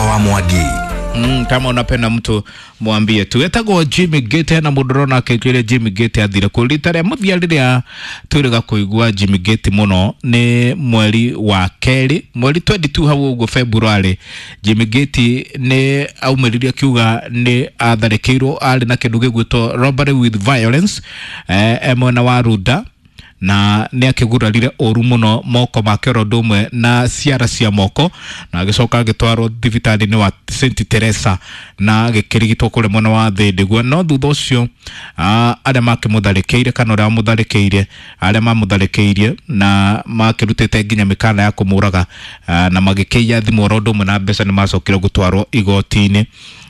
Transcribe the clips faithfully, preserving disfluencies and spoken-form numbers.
Wa Mwangi. Mm, kama unapenda mtu mwambie tu. Etagwo Jimmy Gate na mundu rona akĩnjĩre Jimmy Gate athire kũ. Rita rĩa mũthia rĩrĩa twĩrĩga kũigua Jimmy Gate mũno nĩ mweri wa kerĩ, mweri mĩrongo ĩĩrĩ na igĩrĩ hau ũguo February. Jimmy Gate nĩ aumĩrire akiuga nĩ atharĩkĩirwo, arĩ na kĩndũ gĩgwĩtwo robbery with violence eh, e mwena wa Runda, na nĩ akĩgurarire ũru mũno moko make oro ũndũ ũmwe na ciara cia moko, na agĩcoka agĩtwarwo thibitarĩ-inĩ wa Saint Teresa na agĩkĩrigitwo kũrĩa mwena wa Thĩndĩguo. No thutha ũcio ah, arĩa makĩmũtharĩkĩire kana ũrĩa wamũtharĩkĩire, arĩa mamũtharĩkĩirie na makĩrutĩte nginya mĩkana ya kũmũraga ah, na magĩkĩiya thimũ oro ũndũ ũmwe na mbeca, nĩ macokire gũtwarwo igoti-inĩ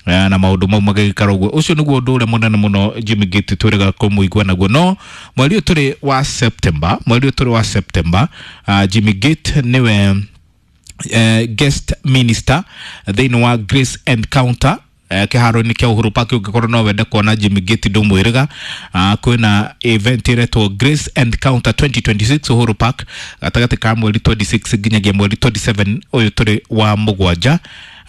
na maũndũ mau magĩgĩkara ũguo. Ũcio nĩguo ũndũ ũrĩa mũnene mũno Jimmy Gate twĩrĩga kũmũigua naguo. No mweri ũyũ tũrĩ wa September, mweri ũyũ tũrĩ wa September, uh, Jimmy Gate nĩwe uh, guest minister thĩinĩ wa Grace Encounter eh, kĩharo-inĩ kĩa Uhuru Park. Ũngĩkorwo no wende kuona Jimmy Gate ndũmwĩrĩga, uh, kwĩna event ĩretwo Grace Encounter twenty twenty-six Uhuru Park, gatagatĩ ka mweri mĩrongo ĩĩrĩ na ithathatũ nginyagia mweri mĩrongo ĩĩrĩ na mũgwanja ũyũ tũrĩ wa mũgwanja,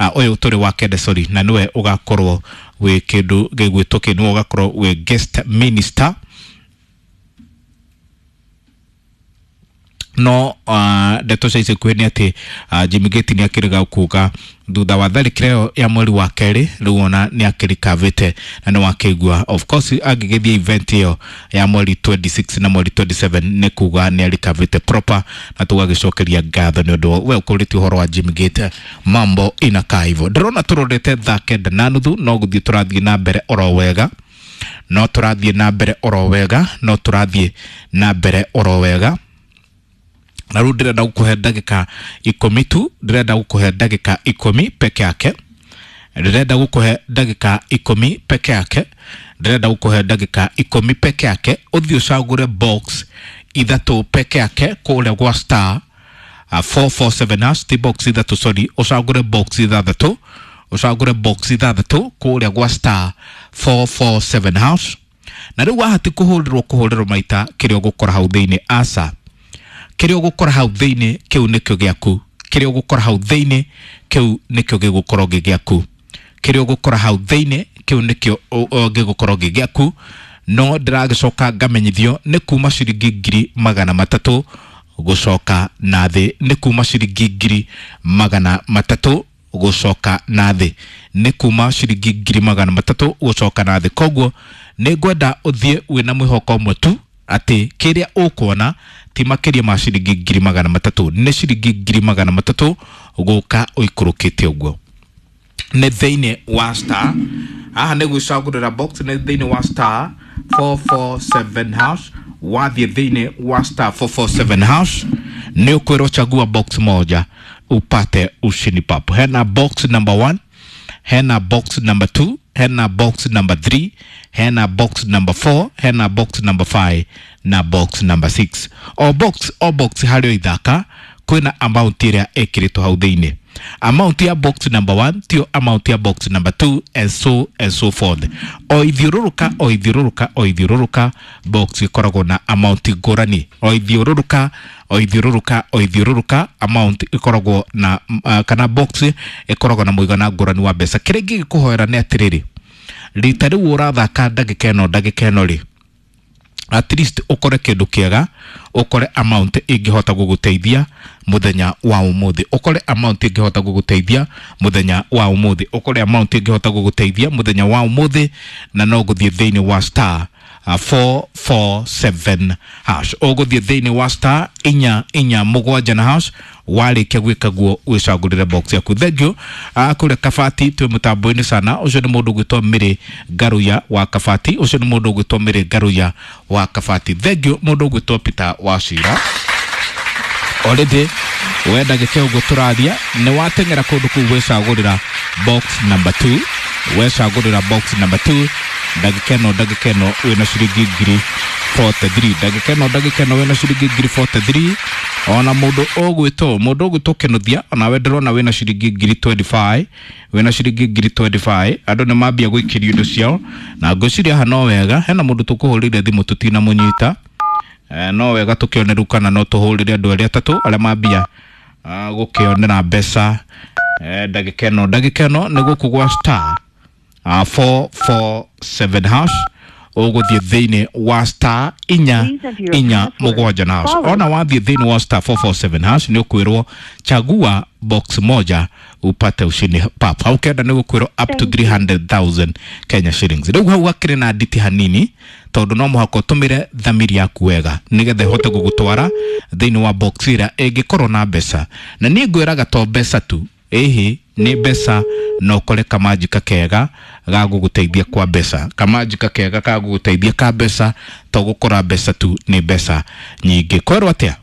uh, ũyũ tũrĩ wa kenda, sorry, na nĩwe ũgakorwo wĩ kĩndũ gĩgwĩtwo kĩ nĩwe ũgakorwo wĩ guest minister. No uh, ndeto cia ica ikuhĩ nĩ atĩ uh, Jimmy Gate nĩ akĩrega kuga thutha wa tharĩkĩra ĩyo ya mweri wa kerĩ, rĩu ona nĩ akĩrikavĩte na nĩ wakĩigua. Of course angĩgĩthiĩ event ĩyo ya mweri mĩrongo ĩĩrĩ na ithathatũ na mweri mĩrongo ĩĩrĩ na mũgwanja nĩ kuga nĩ arikavĩte proper, na tũgagĩcokeria ngatho nĩ ũndũ we ũkũrĩtie ũhoro wa Jimmy Gate. Mambo inakaa hivyo. Ndĩrona tũrorete thaa kenda na nuthu, no gũthiĩ tũrathiĩ na mbere oro wega, no tũrathiĩ na mbere oro wega, no tũrathiĩ na mbere oro wega. Na rĩu ndĩrenda gũkũhe ndagĩka ikũmi tu, ndĩrenda gũkũhe ndagĩka ikũmi peke yake, ndĩrenda gũkũhe ndagĩka ikũmi peke yake, ndĩrenda gũkũhe ndagĩka ikũmi peke yake ũthiĩ ũcagũre box ithatũ peke yake kũrĩa gwa star uh, four four seven hash. Ti box ithatũ, sorry, ũcagũre box ithathatũ, ũcagũre box ithathatũ kũrĩa gwa star four four seven hash. Na rĩu wahati kũhũrĩrwo kũhũrĩrwo maita, kĩrĩa ũgũkora hau thĩinĩ, aca, kĩrĩa ũgũkora hau thĩinĩ kĩu nĩkĩo gĩaku. Kĩrĩa ũgũkora hau thĩinĩ kĩu nĩkĩo gĩgũkorwo gĩ gĩaku. Kĩrĩa ũgũkora hau thĩinĩ kĩu nĩkĩo gĩgũkorwo gĩ gĩaku. No ndĩragĩcoka ngamenyithio nĩ kuma ciringi ngiri magana matatũ gũcoka na thĩ, nĩ kuma ciringi ngiri magana matatũ gũcoka na thĩ, nĩ kuma ciringi ngiri magana matatũ gũcoka na thĩ. Koguo nĩ ngwenda ũthiĩ wĩna mwĩhoko ũmwe tu, atĩ kĩrĩa ũkuona ti makĩria ma ciringi ngiri magana matatũ, nĩ ciringi ngiri magana matatũ gũka ũikũrũkĩte ũguo. Nĩ thĩinĩ wa star, haha nĩ gwĩcagũrĩra box, nĩ thĩinĩ wa star four four seven hash. Wathiĩ thĩinĩ wa star four four seven hash nĩ ũkwĩrwo chagua box moja upate ushindi papo. Hena box number one, hena box number two, hena box number three, hena box number four, hena box number five na box number six. O box o box harĩ o ithaka kwĩna amount ĩrĩa ĩkĩrĩtwo hau thĩinĩ. Amount ya box number one tio amount ya box number two, and so and so forth. O ithiũrũrũka, o ithiũrũrũka, o ithiũrũrũka, box ĩkoragwo na amount ngũrani. O ithiũrũrũka, o ithiũrũrũka, o ithiũrũrũka, amount ĩkoragwo na uh, kana box ĩkoragwo na mũigana ngũrani wa mbeca. Kĩrĩa ingĩgĩkũhoera nĩ atĩrĩrĩ, rita rĩu ũrathaka ndagĩka ĩno, ndagĩka ĩno rĩ, at least ukore kindu kiega, ukore amount ingihota guguteithia muthenya wa umuthi, ukore amount ingihota guguteithia muthenya wa umuthi, ukore amount ingihota guguteithia muthenya wa umuthi. Na no guthie thiini wa star uh, four four seven hash, ũgũthiĩ thĩinĩ wa star inya inya mũgwanja na hash. Warĩkia gwĩka guo wĩcagũrĩre box yaku. Thank you. uh, kũrĩa Kabati twĩ mũtambo-inĩ sana. Ũcio nĩ mũndũ ũgwĩtwo Mĩrĩ Ngaruya wa Kabati, ũcio nĩ mũndũ ũgwĩtwo Mĩrĩ Ngaruya wa Kabati. Thank you, mũndũ ũgwĩtwo Peter Wacira. Already we ndagĩka ũguo tũraria nĩ wateng'era kũndũ kũu gwĩcagũrĩra box number two, wecagũrĩra box number two. Ndagĩka ĩno, ndagĩka ĩno wĩna ciringi ngiri mĩrongo ĩna na ithatũ. Ndagĩka ĩno, ndagĩka ĩno wĩna ciringi ngiri mĩrongo ĩna na ithatũ. Ona mũndũ ũgwĩtwo mũndũ ũgwĩtwo Kĩnuthia, onawe ndĩrona wĩna ciringi ngiri mĩrongo ĩĩrĩ na ithano, wĩna ciringi ngiri mĩrongo ĩĩrĩ na ithano. Andũ nĩ mambia gũikĩrio indo ciao na ngwĩciria haha no wega hena mũndũ tũkũhũrĩire thimũ tũtinamũnyita. Eh, no wega tũkĩone rĩu kana no tũhũrĩre andũ arĩa atatũ arĩa mambia uh, gũkĩonera mbeca. Eh, ndagĩka ĩno ndagĩka ĩno nĩ gũkũ gwa star uh, four four seven hash ũgũthiĩ thĩinĩ wa star inya Please enter your inya password, mũgwanja na hash. followed Ona wathiĩ thĩinĩ wa star four four seven hash nĩ ũkwĩrwo chagua box moja upate ushindi pap. Hau kenda nĩ gũkwĩrwo up to Thank you. three hundred thousand Kenya shillings. Rĩu hau hakĩrĩ na nditi hanini tondũ no mũhaka ũtũmĩre thamiri yaku wega nĩgetha ĩhote gũgũtwara thĩinĩ wa box ĩrĩa ĩngĩkorwo na mbeca. Na niĩ ngwĩraga to mbeca tu, ĩhĩ nĩ mbeca na ũkore kamanjika kega ga gũgũteithia kwa mbeca, kamanjika kega ga gũgũteithia ka mbeca, to gũkora mbeca tu, nĩ mbeca nyingĩ. Kwerwo atĩa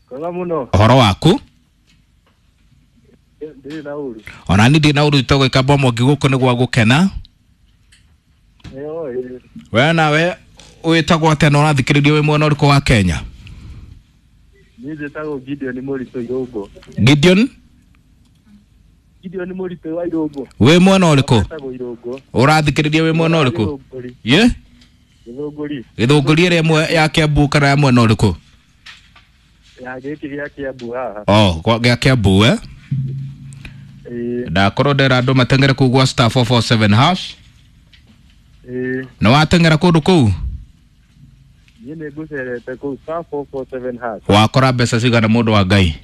Kwega mũno. ũhoro waku? Ndirĩ na ũru. Ona niĩ ndirĩ na ũru, tũgwĩka mbomo gũkũ nĩ gwa gũkena. Ĩyo ĩĩ. We nawe wĩtagwo atĩa na ũrathikĩrĩria wĩ mwena ũrĩkũ wa Kenya? Niĩ njĩtagwo Gideon Mũritũ Irũngũ. Gideon Gideon Mũritũ wa Irũngũ. wĩ mwena ũrĩkũ? Njĩtagwo Irũngũ. Ũrathikĩrĩria wĩ mwena ũrĩkũ? Gĩthũngũri. Ye? Gĩthũngũri. Gĩthũngũri ĩrĩa ĩmwe ya Kiambu kana ya mwena ũrĩkũ? Ya gĩkĩ gĩa Kiambu haha. Oh, kwa gĩa Kiambu eh? Ĩĩ. Ndakorwo ndera andũ mateng'ere kũu gwa star four four seven hash. Ĩĩ. Nĩ wateng'era kũndũ kũu? Niĩ nĩ ngũcerete kũu star four four seven hash. Wakora mbeca cigana mũndũ wa Ngai?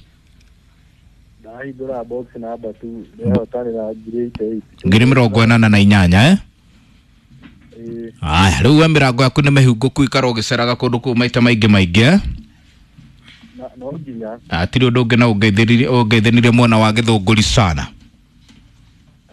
Ndahingũra box number two ndehotanĩra ngiri eighty eight. Ngiri mĩrongo ĩnana na inyanya eh? Ĩĩ. Aya, rĩu we mĩrango yaku nĩ mĩhingũku ikara ũgĩceraga kũndũ kũu maita maingĩ maingĩ eh? Na no nginya. Hatirĩ ũndũ ũngĩ na ũngeithĩrire ũngeithĩnirie mwena wa Gĩthũngũri sana.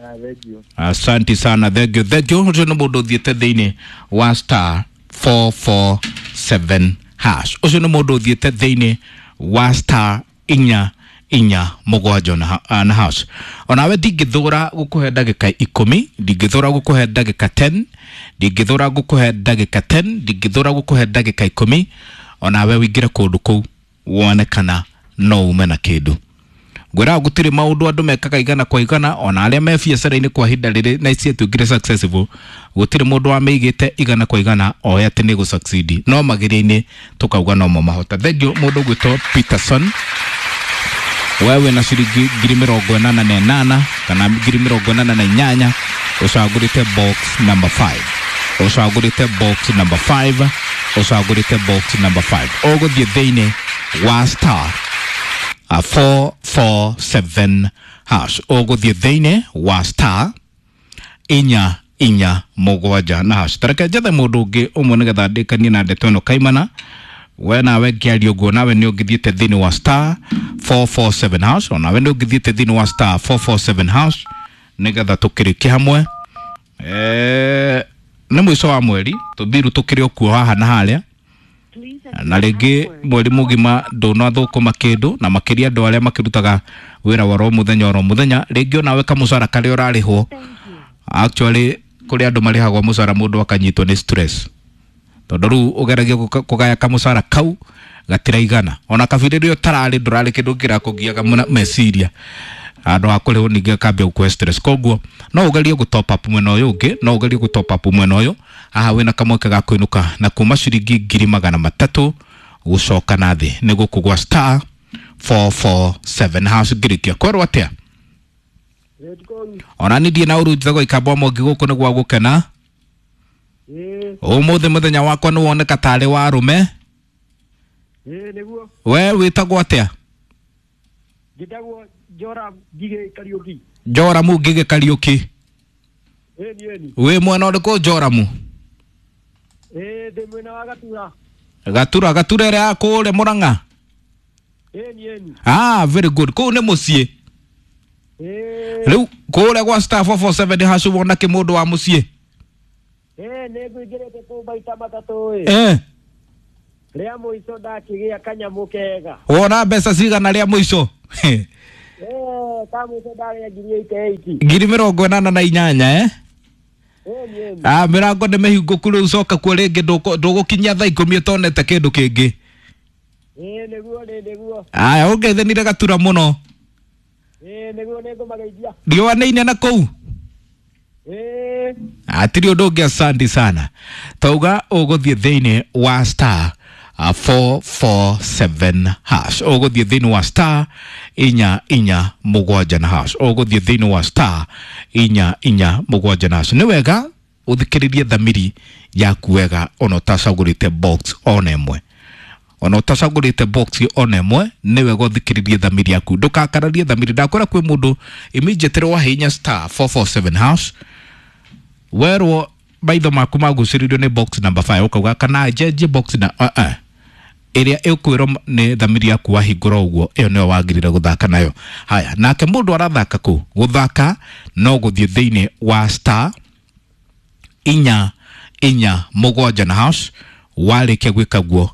Ah, thank you. Asante sana, thank you, thank you. Ũcio nĩ mũndũ ũthiĩte thĩinĩ wa star four four seven hash. Ũcio nĩ mũndũ ũthiĩte thĩinĩ wa star inya inya mũgwanja na, ha- na hash. Onawe ndingĩthũra gũkũhe ndagĩka ikũmi, ndingĩthũra gũkũhe ndagĩka ten, ndingĩthũra gũkũhe ndagĩka ten, ndingĩthũra gũkũhe ndagĩka ikũmi, onawe wĩingĩre kũndũ kũu wone kana no ume na kĩndũ. Ngwĩraga gũtirĩ maũndũ andũ mekaga igana kwa igana, ona arĩa me biacara-inĩ kwa ihinda rĩrĩ na ciatuĩkire successful, gũtirĩ mũndũ wamĩigĩte igana kwa igana oĩ atĩ nĩ gũ-succeed, no mageria-inĩ tũkauga nomo mahota. Thank you mũndũ ũgwĩtwo Peterson, we wĩna ciringi ngiri mĩrongo ĩnana na ĩnana kana ngiri mĩrongo ĩnana na inyanya, ũcagũrĩte box number five, ũcagũrĩte box number five, ũcagũrĩte box number five. Ũgũthiĩ thĩinĩ wa star uh, four four seven hash, ũgũthiĩ thĩinĩ wa star inya inya mũgwanja na hash. Tareke njethe mũndũ ũngĩ ũmwe nĩgetha ndĩkanie na ndeto ĩno kaimana. We nawe ngĩaria ũguo nawe nĩ ũngĩthiĩte thĩinĩ wa star four four seven hash, onawe nĩ ũngĩthiĩte thĩinĩ wa star four four seven hash nĩgetha tũkĩrĩkie hamwe. Eh, nĩ mũico wa mweri tũthiru tũkĩrĩ o kuo haha na harĩa Please enter na your rĩngĩ password, mweri mũgima ndũnathũkũma kĩndũ, na makĩria andũ arĩa makĩrutaga wĩra wa oro mũthenya oro mũthenya, rĩngĩ onawe kamũcara karĩa ũrarĩhwo. Thank you. Actually kũrĩ andũ marĩhagwo mũcara mũndũ akanyitwo nĩ stress, tondũ rĩu ũgeragia gũka- kũgaya kamũcara kau gatiraigana, ona kabiri rĩrĩa ũtararĩ ndũrarĩ kĩndũ kĩrakũgiaga mũno meciria, handũ ha kũrĩhwo ningĩ akambia gũkũhe stress. Koguo no ũgerie gũ top up mwena ũyũ ũngĩ, no ũgerie gũ top up mwena ũyũ haha wĩna kamweke ga kũinũka na kuma ciringi ngiri magana matatũ gũcoka na thĩ nĩ gũkũ gwa star four four seven hash. Ngĩrĩkia kwerwo atĩa? Ona niĩ ndirĩ na ũru, njĩtagwo Ikamba Mwangi, gũkũ nĩ gwa gũkena. Ĩĩ. Ũmũthĩ mũthenya wakwa nĩ woneka tarĩ wa arũme. Ĩĩ nĩguo. We wĩtagwo atĩa? Njĩtagwo Joram Ngigĩ Kariũki. Joramu Ngigĩ Kariũki. Ĩni ĩni. Wĩ mwena ũrĩkũ Joramu? Ĩĩ ndĩ mwena wa Gatura. Gatura, Gatura ĩrĩa ya kũrĩa Mũrang'a? Ĩni ĩni. Ah, very good, kũu nĩ mũciĩ. Ĩĩ. Rĩu kũrĩa gwa star four four seven hash wona kĩ mũndũ wa mũciĩ? Ĩĩ nĩ ngũingĩrĩte kũu maita matatũ ĩ. Eh, Rĩa mũico ndakĩgĩa kanyamũ kega. wona mbeca cigana rĩa mũico? Ĩĩ ka mũico ndarĩa ngiri eighty eight. Ngiri mĩrongo ĩnana na inyanya eh? Ĩni ĩni. Ah, mĩrango nĩ mĩhingũku rĩu, coka kuo rĩngĩ, ndũkũ- ndũgũkinyia thaa ikũmi ũtonete kĩndũ kĩngĩ. Ĩĩ nĩguo nĩ nĩguo. Aya, ũngeithanire Gatura mũno. Ĩĩ nĩguo nĩ ngũmageithia. Riũa nĩ inene kũu? Ĩĩ. Hatirĩ ũndũ ũngĩ, asante sana. Tauga ũgũthiĩ thĩinĩ wa star uh, four four seven hash. Ũgũthiĩ thĩinĩ wa star inya inya mũgwanja na hash. Ũgũthiĩ thĩinĩ wa star inya inya mũgwanja na hash. Nĩ wega ũthikĩrĩrie thamiri yaku wega ona ũtacagũrĩte box ona ĩmwe, ona ũtacagũrĩte box ona ĩmwe, nĩ wega ũthikĩrĩrie thamiri yaku, ndũkakararie thamiri. Ndakwĩra kwĩ mũndũ immediately wahihinya star four four seven hash, werwo maitho maku magucĩrĩrio nĩ box number five, ũkauga kana njenjie box na uh -uh. Ĩrĩa ĩkwĩrwo nĩ thamiri yaku wahingũra ũguo, ĩyo nĩyo wagĩrĩire gũthaka nayo. Haya, nake mũndũ arathaka kũ gũthaka no gũthiĩ thĩinĩ wa star inya inya mũgwanja na hash. Warĩkia gwĩka guo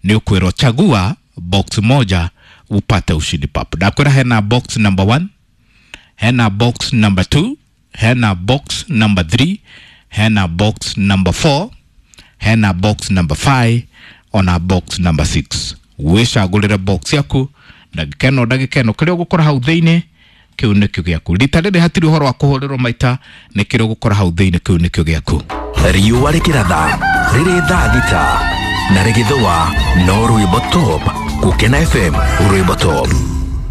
nĩ ũkwĩrwo chagua box moja upate ushindi pap. Ndakwĩra hena box number one, hena box number two, hena box number three, hena box number four, hena box number five, ona box number six. Wĩcagũrĩre box yaku ndagĩka ĩno, ndagĩka ĩno kĩrĩa ũgũkora hau thĩinĩ kĩu nĩkĩo gĩaku. Rita rĩrĩ hatirĩ ũhoro wa kũhũrĩrwo maita, nĩ kĩrĩa ũgũkora hau thĩinĩ kĩu nĩkĩo gĩaku. Riũa rĩkĩratha rĩrĩ thaa thita na rĩgĩthũa no rwĩmbo top Gũkena F M, rwĩmbo top.